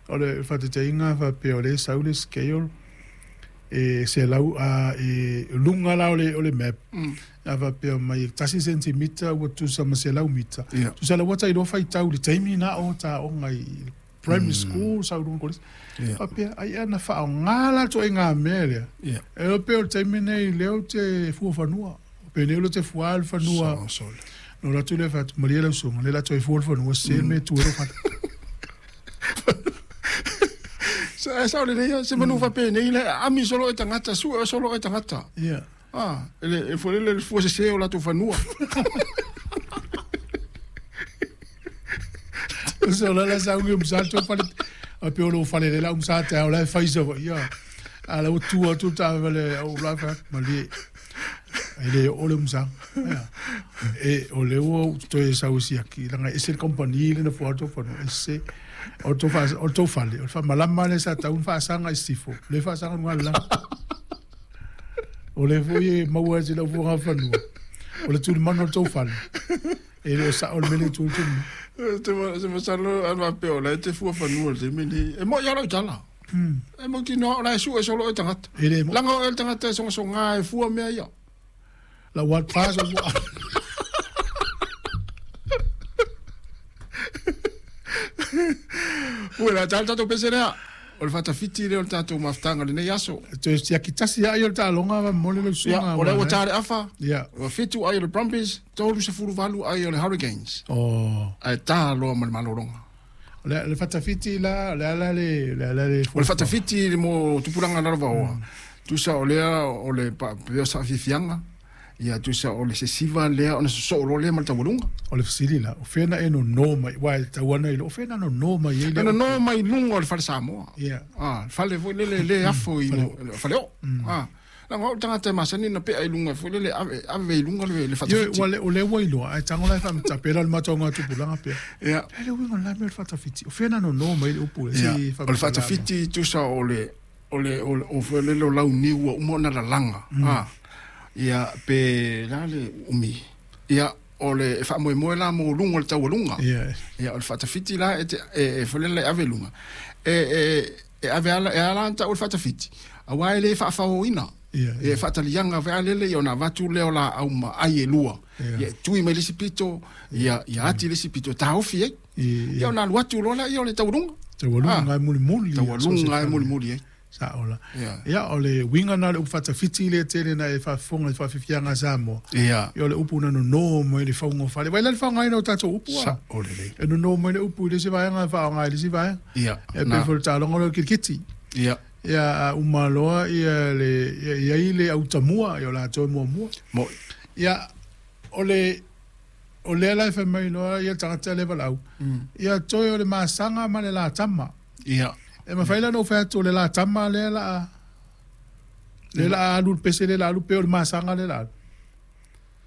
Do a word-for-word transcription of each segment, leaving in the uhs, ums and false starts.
O le faataitaiga faapea o lea e sau le scale e selau a e luga la o le o le map. A faapea mai e tasi sentimita ua tutusa ma selau mita. Tusa la ua tailoa faitau i le taimi na o taoga i primary school sau luga kolisi. Faapea ai ana faaaoga la ituaiga mea lea. E iloa pei o le taimi lenei lea ou te fua fanua. Pe nei o te fua le fanua. No la tu le fai atu malie lau susuga lea la toe fua le fanua se le mea e tu ai lou fale. Sa sa le ia se manu faapē nei le ami solo e tagata su e solo e tagata. Ia. Ah, ele e foi le fua se o latou fanua. So la la sa ungi umsa to fale a pe o lo fale le la umsa ta o la fai sa ia. A la tu atu ta vale o la fa malie. E le o le umsa. Ia. E o le o toe sau siaki langa e se le company le na fua to fanua e se o to fa o to fale o fa malama le sa taun fa sanga i sifo le fa sanga ngala la. O le foi e maua se lau fuaga fanua. O le tulimanu o le tou fale. E le o sao le mele tu tu. Te se masalo a va pe o la te fua fanua le taimi lenei. E mo'i lava lau tala. E mautinoa o la e su'e solo e tagata. E le Laga o e le tagata e sogasogā e fua mea ia. La wat pas o Ua la tala tatou pese lea. O le faatafiti lea o le tatou mafutaga lenei aso. Toe siaki tasi ai o le taaloga va mole le Ia, susuga. o lea ua tā le afa. Ia. Ua fitu ai o le Brumbies, tolu sefulu valu ai o le Hurricanes. Oh. Ae tā loa ma le malologa. O le le faatafiti la le ala le le ala le O le faatafiti le mo tupulaga lalovaoa. Tusa o lea o le pa- pea saafiafiaga. Ia tusa o le sesiva lea ona sosoo loa lea ma le taualuga. O le fesili la o fea na e nonō mai uā e tatau ana i lo o fea na nonō mai ai le Na nonō mai luga o le fale Samoa. Ia. Ah, le fale foi lele le afo i mo fale oo. Ah, laga o le tagata e masani na pea i luga foi lele ave ave i luga le le Ioe, faatafiti. ua le o lea ua iloa ae tago la e faamatapela le mataoga tupulaga pea. Ia. E le uiga o le la mea o le faatafiti. O fea na nonō mai le upu le Ia, se o le faatafiti tusa o le o le o le o foi lele o launiu ua uma ona lalaga. Ah. Ia pe la le umi. Ia o le e faamoemoe la mo luga o le taualuga. Ia. Ia o le faatafiti la e te e e foi lele e ave i luga. E e e ave ala e ala ona ta'u le faatafiti. Auā e lē faafaoina. Ia. E faataliaga foi a lele ia ona avatu lea o laau ma ai e lua. Ia. Ia e tui mai le isi pito, ia ia ati le isi pito e taofi ai. Ia. Ia ona alu atu loa laia o le taualuga. Taualuga e mulimuli. Taualuga e mulimuli ai. Sa'o la. Ia. Ia o le uiga na o le upu faatafiti lea tele na e faafofoga i le faafiafiaga a Samoa. Ia. Ia o le upu na nonō mai le fauga o fale. Vai la le faaaogaina o tatou upu a. Sa'o lelei. E nonō mai le upu i le isi vaega e faaaoga i le isi vaega. Ia. E Na. pei foi le taaloga lea o le kirikiti. Ia. Ia a uma loa ia le ia i ai le autamua ia o latou e muamua. Mo'i. Ia o le o lea la e fai mai loa ia le tagata lea valaau. Ia toe o le masaga ma le latama. Ia. E mafai la ona ou fai atu o le latama lea la a lea la a alu le pese lea la alu pe o le masaga lea la alu.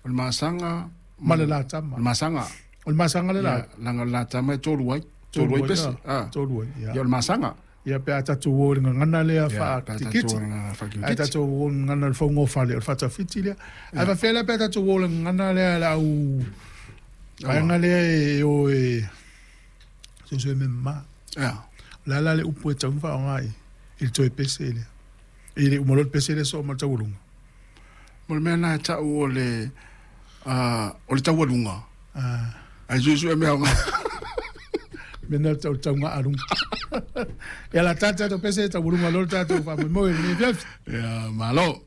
O le masaga Ma le latama. O le masaga. O le masaga lea la alu. Ia, laga o le latama e tolu ai. Tolu ai pese. Ah. Tolu ai. Ia Ia. o le masaga. Ia pe a tatou o i le gagana lea Ia, pe a tatou faakitikiti. o le gagana Ae faakitikiti. tatou o i le gagana o le fauga o fale o le faatafiti lea. Ae faafefea la pe a tatou o i le gagana lea le au vaega lea e o e suesue me mamā. Ia. O le a la le upu e tatau ona faaaoga i i le toe pese lea. I le uma loa le pese lea soo ma le taualuga. Mo le mea lena e ta'u o le ah, o le taualuga. Ah. Ae suesue mea aoga. Mea na o le taugaa luga. Ia la tata tatou pese taualuga loa le tatou faamoemoe i lenei afiafi. Ia, malo.